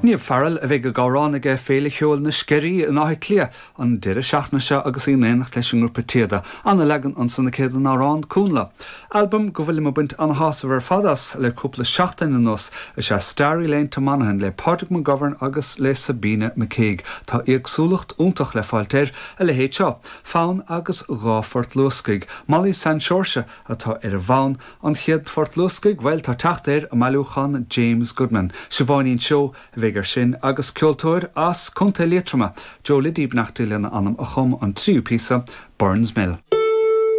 Niamh Farrell a bheidh ag amhrán ag Féile Cheoil na Sceirí in Áth Cliath an deireadh seachtaine seo agus í in éineacht leis an ngrúpa Téada. Ana-leagan ansan aici den amhrán Cúnla. Albam go bhfuilim ag baint ana-shásamh ar fad as le cúpla seachtain anuas is ea Starry Lane to Monaghan le Pádraig McGovern agus le Sabina McCague. Tá éagsúlacht iontach le fáilt air, a leithéid seo, Fonn agus 2 phort luascaigh, Molly San Seoirse atá ar an bhfonn, An chéad phort luascaigh, bhuel, tá teacht air i mbailiúchán James Goodman. Siobháinín Seoighe a bheidh air sin agus ceoltóir as Contae Liatroma, Joe Liddy, beannacht Dé lena anam, a chum an tríú píosa, Burns Mill.